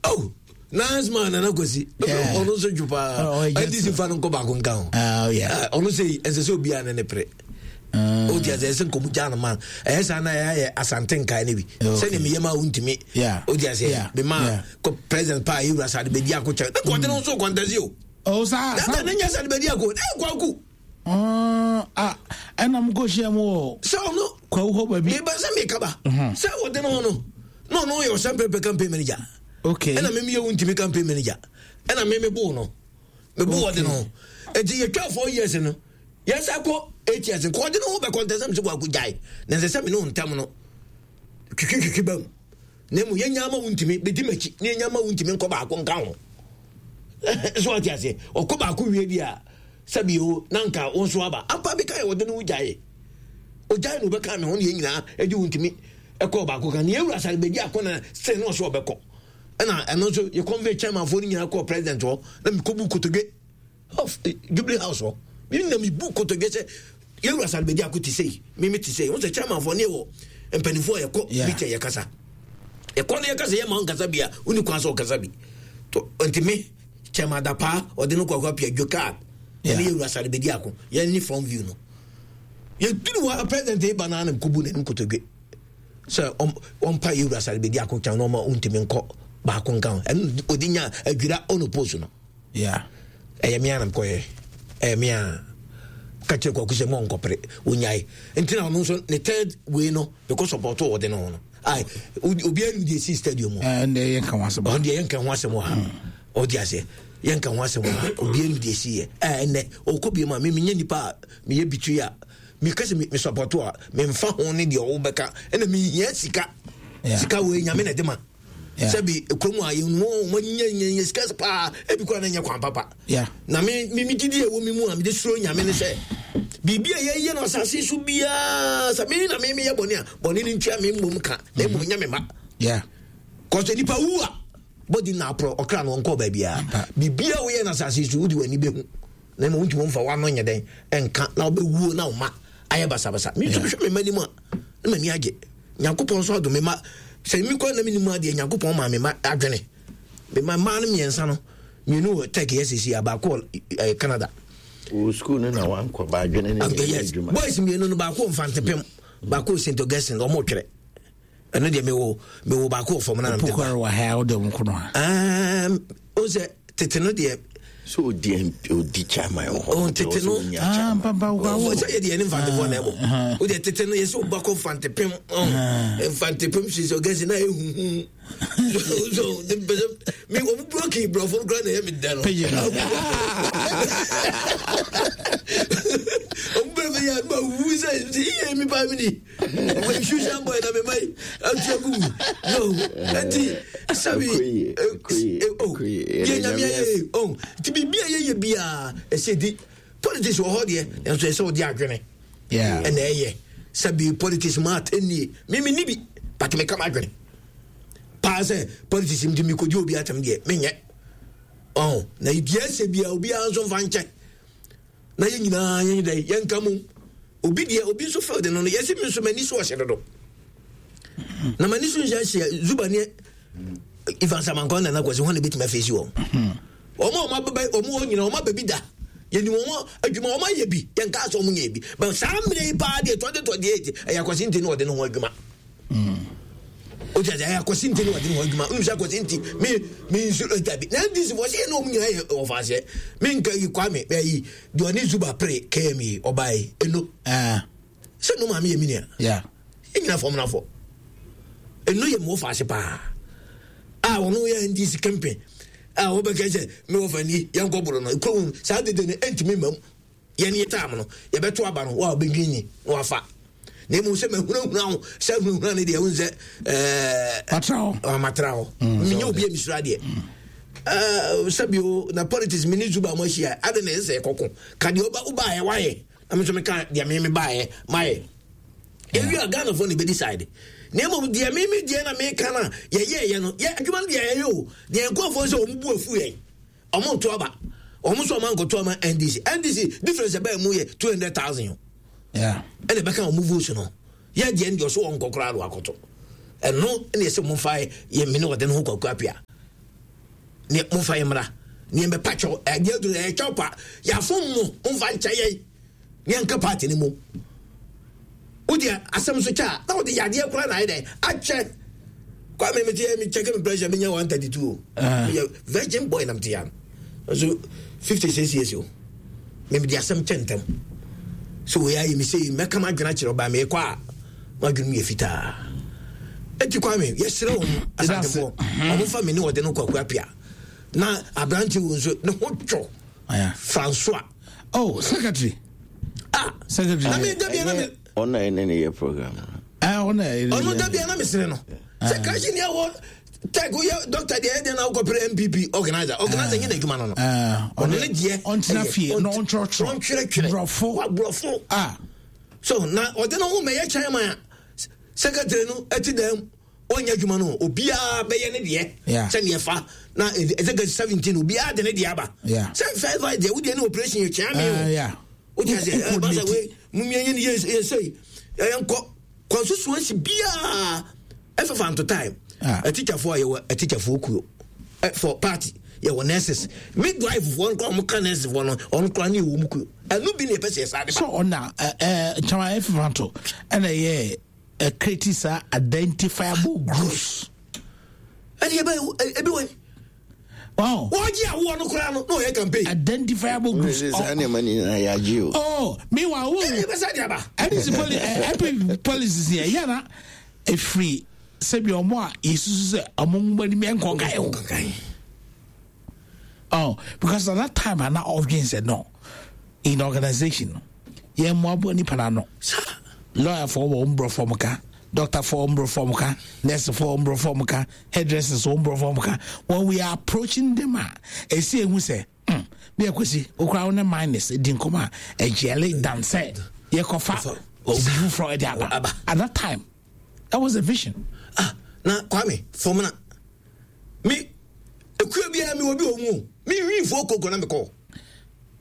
Oh, nice man Nana Kwasi. Ɔno nso dwo paa. NDC fa no nkɔ baako nka ho. Ah, ɔno sɛ ɛnsɛ sɛ obiara ne ne pere. O ti ase ɛsɛ nkɔmu gya no ma ɛyɛ saa na ɛyɛ ayɛ asante nkae no bi sɛdeɛ meyɛ ma wontumi o ti ase mema kɔ president paa yɛwura sade bɛdi ako kyɛ ne kɔnte no nso kɔntɛsi o. Oh, saa saa. Ne nyɛ sade bɛdi ako ne kwaku. Ah, ɛna mo kɔ hyia mu wɔ. Sɛ ɔno. Kwawu hɔ baabi. Meba sɛ meka ba. Mhm. Sɛ ɔde no ho no na ɔno yɛ ɔsɛn pɛpɛ campaign manager. Okay. Ɛna mimi yɛ wuntumi campaign manager. Ɛna mimi bo no. Me bo ɔde no ho. Eti yɛtwa 4 years no. Yɛsa kɔ 8 years nkɔ ɔde no ho bɛ contest sɛ kwaku gyae. Na ɛsɛ sɛ me ne wo ntam no twitwi twitwi ba mu. Na emu yɛnya ama wuntumi bɛdi m'akyi na yɛnya ama wuntumi nkɔ baako nka ho. So ɔte aseɛ ɔkɔ baako wie bi a sɛbi o na nka wo nso aba ampa bi ka yɛ ɔde no ho gyae ogyae na ɔbɛka me ho ne yɛn nyinaa ɛde wo ntumi ɛkɔ baako ka ne yɛwura sare bɛdi akɔ na sɛ ne ɔso ɔbɛkɔ ɛna ɛno nso yɛ convey chairmanfoɔ no nyinaa kɔɔ president hɔ na mekɔbu kotodwe of eh, jubilee house hɔ me na mebu kotodwe sɛ yɛwura sare bɛdi ako te sei meme te sei wo sɛ chairmanfoɔ ne yɛwɔ mpanimfoɔ a yɛkɔ meeting yɛkasa yɛkɔ no yɛkasa yɛma wo nkasa bi a woni kwan sɛ ɔkasa bi nti me chairman Dapaa ɔde no kɔkɔ apia dwo card ɛne yɛ wura sare bɛdi ako yɛn ne front view no yɛduru hɔ a president yi ba no anam kɔbu n'anim kotodwe sɛ ɔmpa yɛ wura sare bɛdi ako kyɛn na ɔma ɔntumi nkɔ baako nka ho ɛno ɔde nya adwira ɔno post no ɛyɛ me anam kɔyɛ ɛyɛ me a ka kyerɛ kwaku sɛ mɔ nkɔpere ɔnyae nti na ɔno nso ne third wei no mekɔ support ɔde no ho no ai obiara nim deɛ ɛsi stadium hɔ ɛnde yɛnka ho asɛm ɔno deɛ yɛnka ho asɛm wɔ ha ɔde aseɛ yɛnka ho asɛm wɔ ha obiara nim deɛ ɛsi yɛ ɛnɛ ɔkɔ biom a memenyɛ nipa a meyɛ bitiri a meka sɛ me support a memfa ho ne deɛ ɔwobɛka ɛna mehia sika sika wei nyame na ɛde ma sɛbi kurom a yɛn wɔn wɔn nyɛ nyɛ nyɛ sika paa ebi kora na nyɛ kwan papa na me me me didi ɛwɔ mi mu a me de suro nyame ne sɛ biribi a yɛyɛ no asase so biara sɛ me na me me yɛ bɔne a bɔne no ntua me mmom ka na mmom nyɛ me ma kɔsɛ nipa wu a bɔdi na aporɔ ɔkra no ɔnkɔ baabiara biribi a woyɛ no asase so wode w'ani bɛhu na mmom wontumi mfa w'ano nyɛ dɛn ɛnka na wobɛwuo na wo ma ayɛ basabasa me nso mehwɛ me mma anim a na m'ani agye nyankopɔn nso adom me ma sɛ me kɔ na menim adeɛ nyankopɔn maa me ma adwene me ma mmaa no mmiɛnsa no mmienu wɔ tech yɛ sisi a baako wɔ eh, Canada wɔ sukuu no na wankɔ ba adwene ne yɛ adwuma boys mmienu no baako wɔ Mfantepem baako wɔ St Augustine wɔn retwerɛ ɛno deɛ mewɔ mewɔ baako wɔ fam na mede ba wɔ ha wode wɔn kono ha ɛɛm o sɛ tete no deɛ so odi odi chairman wɔ hɔ tete no ah papa wo sɛ yɛ deɛ ne mfantefoɔ na ɛbɔ o deɛ tete no yɛ sɛ ɔba kɔ mfantepem mfantepem sisi ɔgɛsi na ehuhu so ne mpɛ sɛ mi wɔn buroki borɔfo no koraa na ɛyɛ mi dɛ no wɔn bɛrɛ fɛ yɛ ma wu sɛ iye mi ba mi ni nsuhyɛ bɔ na mema yi atua gu mu no nti sɛbi yɛ nyame ayɛ o nti biribi a yɛyɛ biara ɛsɛ di politics wɔ hɔ deɛ nanso ɛsɛ wode adwene ɛna ɛyɛ sɛbi politics ma atɛnnie meme ni bi but meka m'adwene paa sɛ politics nti mekɔdi obi atɛm deɛ menyɛ ɔn na deɛ ɛsɛ biara obiara nso mfa nkyɛ na yɛn nyinaa yɛn dɛ yɛnka mu obi deɛ obi nso field no no yɛsi mi nso m'ani so ɔhyɛ dodo na m'ani so nhyɛ hyɛ zuba ne Ivan Samankɔ na nakwasi wɔn na ebetumi afeesi wɔn wɔn a wɔn abɛbɛ wɔn wɔ nyinaa wɔn abɛbi da yɛnim wɔn adwuma wɔn ayɛ bi yɛn kaa sɛ wɔn nyɛ bi but saa mmerɛ yi paa deɛ 2028 ɛyɛ akwasi nti na ɔde ne ho adwuma. O ti ase ɛyɛ akwasi nti na ɔde ne ho adwuma n sɛ akwasi nti mi mi nsu dabi na ndc fɔ sɛ yɛ na wɔn nyinaa yɛ ɔfa aseɛ mi nka yi kwame ɛyi deɛ ɔne zuba pere km yi ɔbaa yi eno sɛ no maame yɛ mi nua yɛ nyina fam nafɔ eno yɛ mu ɔfa ase paa a wɔn yɛ ndc campaign a wɔbɛka sɛ mi wɔ fa ni yɛn kɔ bolo no kurom saa dede no ɛntumi mma mu. Yɛn yɛ tam no, yɛbɛto aba no, wo a wobɛdwin ni na wafa. Na mmom sɛ mahunahuna wo sɛ hunahuna no deɛ wohu sɛ ɛɛ matra hɔ. Menyɛ obi a mesuro adeɛ. Sɛbio na politics me ne Zuba mo ahyia ade na ɛsɛ kɔko ka deɛ ɔba wobaeɛ wayɛ na me nso meka deɛ me me baeɛ mayɛ. Ewi a Ghanafoɔ na ɛbɛ decide. Na mmom deɛ me me deɛ na meka no a yɛyɛɛyɛ no yɛ adwuma no deɛ yɛyɛ o deɛ nkurɔfoɔ sɛ wɔn bu afu yɛn. Ɔmo nto aba. Ɔmo nso ɔmo ankɔto ama NDC. NDC difference ɛbɛn mu yɛ 200,000 o. Yeah. Ɛna ɛbɛka ɔmo votes no. Yɛ deɛ deɛ ɔso wɔn nkɔ koraa do akɔto. Ɛno ɛna ɛsɛ ɔmo fa yɛ mene ɔde ne ho kwaku apia. Ne momfa yɛ mmra ne yɛmbɛpa kyɛw. Ɛdeɛ aduru ɛyɛ kyɛw pa. Yɛafom mo, momfa nkyɛ yɛn. Ne yɛnka party no mu. Wodeɛ asɛm so kyɛ a, na wode yadeɛ koraa na ayɛ dɛn akyɛ. Kwame mete yɛ me check me pressure menya 132 o. Meyɛ virgin boy na mete ya no. Nso 56 years o. Me mede asɛm kyɛ ntɛm. So wei ayɛ me sei mɛka m'adwene akyerɛ ɔbaa mekɔ a m'adwene mu yɛ fitaa. Eti Kwame yɛsrɛ wɔn asantefoɔ wɔn fa me ne ɔde no Kwaku Apia na aberante wo nso ne ho twɔ Francois. Oh, secretary. Ah, secretary. Na me dabia na me. Ɔna ɛne ne yɛ program. Ɔna ɛne. Ɔno dabia na me sere no. Sɛ kashi ni ɛwɔ tech woyɛ doctor deɛ ɛdeɛ na wokɔpere NPP organizer. Organizer nyɛ n'adwuma no no. Ɔno ne deɛ. Ɔntena fie na ɔntwerɛtwerɛ. Ɔntwerɛtwerɛ. Borɔfo. Wa borɔfo. Ah. So na ɔde ne ho mɛyɛ chairman a secretary no ɛti dɛm ɔnyɛ adwuma no obiara bɛyɛ ne deɛ sɛdeɛ fa na ɛsɛ 17 obiara de ne deɛ aba sɛ first vice deɛ wodeɛ ne operation yɛ kyea me o wote aseɛ ɛba sɛ wei mumia nyɛ ne yɛ sɛi ɛyɛ nkɔ constituency biara ɛfefa nto time atikyafoɔ a yɛwɔ atikyafoɔ kuo for party yɛwɔ nurses midwife foɔ no koraa wɔn ka nurses foɔ no ɔno koraa ne yɛwɔ mu kuo ɛno bi ne yɛpɛ sɛ yɛsa de ba so ɔna ɛɛ kyɛn ɛfefa nto ɛna ɛyɛ ɛkreti saa identifiable groups. Ɛni ebe ebi wɔ. Wow. Wɔgye awoɔ no koraa no na ɔyɛ campaign. Identifiable groups. Ɛsɛ saa nneɛma ni nyinaa yɛagye o. Oh, meanwhile wo. Ɛni bɛ sɛ de aba. NDC poli NPP policies yɛ yɛn efiri sɛbi ɔmo a yɛsusu sɛ ɔmo nwoma anim nkɔ nkae o. Oh, because at that time ana ɔdwen sɛ no in organization no yɛn mmoaboa nipa no ano lawyer fo wɔ mborɔfo ɔmo ka doctor fo mborɔfo ɔmo ka nurse fo mborɔfo ɔmo ka hairdressers wɔ mborɔfo ɔmo ka when we are approaching them a esi ehu sɛ hmm bi akwasi okura wo ne minus di nkɔmɔ a ɛgyɛle dan sɛ yɛkɔfa obi foforɔ ɛde aba at that time that was the vision. Ah, na Kwame fɔmuna me ekua biara mi wɔ bi wɔ mu o mi nwi fo koko na mi kɔ.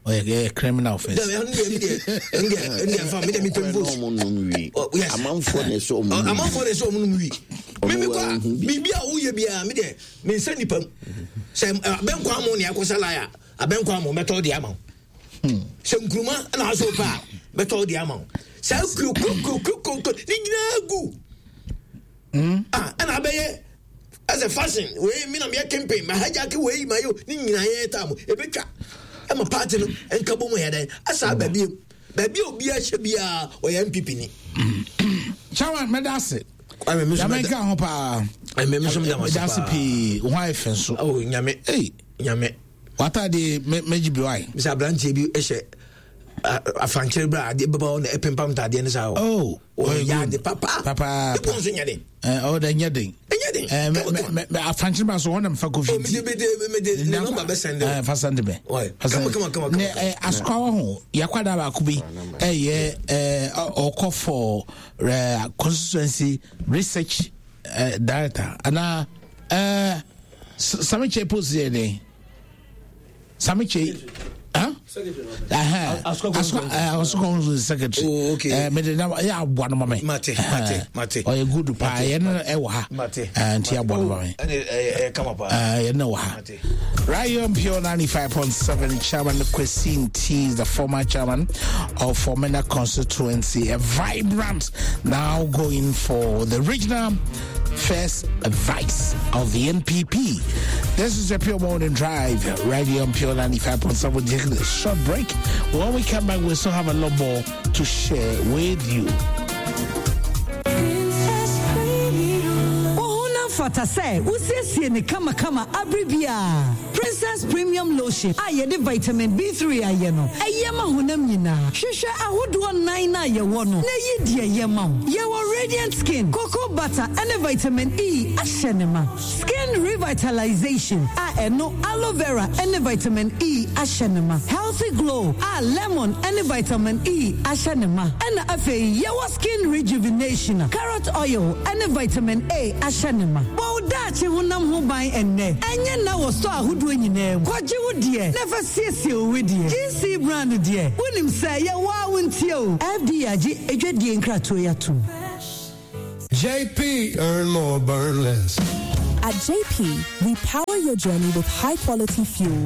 ɔyɛ ɛyɛ criminal offence. Dɛbi ɛnu deɛ mi deɛ ɛnu deɛ ɛnu deɛ nfa mi deɛ mi pɛ vote. Ɔmo nom wi. Yes. Amanfoɔ na ɛsɛ ɔmo nom. Amanfoɔ na ɛsɛ ɔmo nom wi. Mi mi kɔ a biribi a woyɛ biara mi deɛ mi nsa nipa mu. Sɛ abɛnkɔ amu ni akɔsa laya abɛnkɔ amu mɛtɔ di ama wo. Sɛ nkuruma na aso pɛ a mɛtɔ di ama wo. Saa kuo kuo kuo kuo kuo ne nyinaa gu. Ah ɛna abɛyɛ ɛsɛ fashion wei mi na meyɛ campaign ma hijack wei ma yɛ ne nyinaa yɛ taa mu ebetwa ɛma party no nka bɔ mu yɛ dɛn asa aba biem baabi a obiara hyɛ biara ɔyɛ npp ni. chairman mɛda ase nyame nka ho paa mɛda ase pii ho ayɛ fɛ nso oh, nyame nyame w'atadeɛ mɛgye bi wae sɛ aberanteɛ bi hyɛ afankyere berɛ a adeɛ bɛba hɔ na ɛpempam ntaadeɛ no saa oh ɔyɛ ade papa papa ebi nso nyɛ den ɔwɔ dɛ nyɛ den nyɛ den mɛ mɛ afankyere ba so wɔn na mfa kofi ti mede mede ne nɔmba bɛ sɛn de fa sɛn de bɛ kama kama kama ne asukwawa ho yakwada baako bi ɛyɛ ɔkɔ for constituency research director ana ɛɛ samikyɛ post yɛ den. Samiche, huh? Asukwa secretary. Oh, okay. Me de na ya aboa no ma me. Mate, mate, mate. Ɔyɛ good paa. Yɛ no ɛwɔ ha. Mate. Nti aboa no ma me. Ɛne ɛyɛ kama paa. Yɛ no wɔ ha. Right here on Pure 95.7, Chairman Kwesi Nti is the former chairman of Fomena constituency, a vibrant now going for the regional first vice of the NPP. This is the Pure Morning Drive, right here on Pure 95.7. We're taking a short break. When we come back, we still have a lot more to share with you. Fata sɛ wosiesie ne kamakama abere biara. Princess Premium Lotion a yɛde vitamin B3 ayɛ no, ɛyɛ ma honam nyinaa. Hwehwɛ ahodoɔ nnan no a yɛwɔ no na yi deɛ ɛyɛ ma wo. Yɛwɔ Radiant Skin, Cocoa Butter ne Vitamin E ahyɛ ne ma. Skin Revitalization a ɛno Aloe Vera ne Vitamin E ahyɛ ne ma. Healthy Glow a Lemon ne Vitamin E ahyɛ ne ma. Ɛna afei yɛwɔ Skin Rejuvenation a Carrot Oil ne Vitamin A ahyɛ ne ma. Bɔ wo daakye honam ho ban ɛnnɛ. Ɛnyɛ nna wɔ store ahodoɔ nyinaa mu. Kɔgye wo deɛ na fa siesie wo wedeɛ. GC brand deɛ, wonim sɛ yɛwɔ a wontie o. FDA agye adwadie nkratoɔ yi atom. JP, earn more, burn less. At JP, we power your journey with high quality fuel.